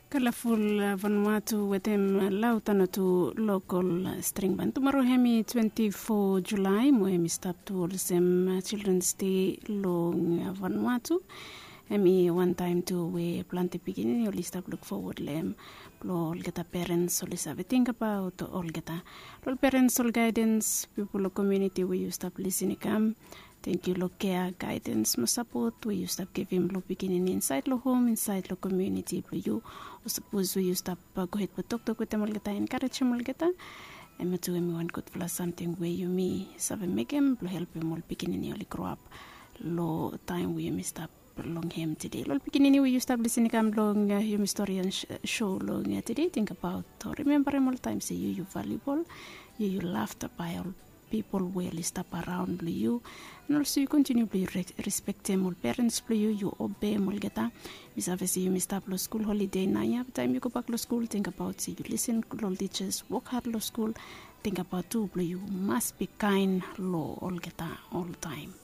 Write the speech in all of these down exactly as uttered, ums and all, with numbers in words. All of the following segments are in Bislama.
Kalaful Vanuatu wetem lautana tu lokol string ban tumoro hemi twenti fo Julai mo hemi stap tu olsem Children's Day long Vanuatu. Hemi wantaem tu we plante pikinini oli stap luk fowod long hem. Blong olgeta perens oli save tingbaot olgeta. Long perens, ol gaedens, pipol long komuniti we yu stap lisin i kam. Tengkiu long kea, gaedens mo sapot we yu stap givim long pikinini insaed long hom, insaed long komuniti blong yu. O sapos we yu stap gohed blong toktok wetem olgeta, enkarejem olgeta. Hemia tu hemi wan gudfala samting we yumi save mekem blong helpem ol pikinini oli groap long taem we yumi stap long hem tede. Long ol pikinini we yu stap lisin i kam long yumi storian sho long tede, tingbaot o rimembarem oltaem se yu yu valiubol. Yu yu lafta bae ol pipol we oli stap araon blong yu. An olso yu kontiniu blong yu respektem ol perens blong yu, yu obeem olgeta. Mi save se yumi stap long skul holide naoia, be taem yu gobak long skul, tingbaot se yu lisin long ol tijas, wok had long skul. Tingbaot tu blong yu mas bi kaen long olgeta oltaem.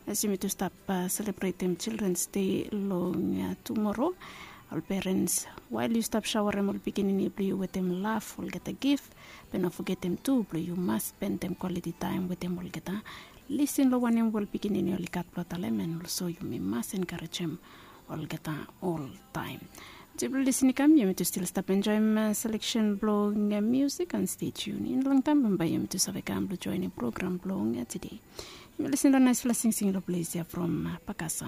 As yumi tu stap selebretem Children's Day long tumoro, ol perens, wael yu stap saoarem ol pikinini blong yu wetem laf, olgeta gif, be no fogetem tu blong yu mas spendem kwaliti taem wetem olgeta. Lisin long wanem we ol pikinini oli gat blong talem, an olso yumi mas enkarejem olgeta oltaem. As yu blong lisin i kam, yumi tu stil stap enjoem seleksen blong miusik, an stay tuned. In long taem bambae yumi tu save kam blong joenem program blong tede. Yumi lisin long naesfala singsing long ples ya from Pakasa.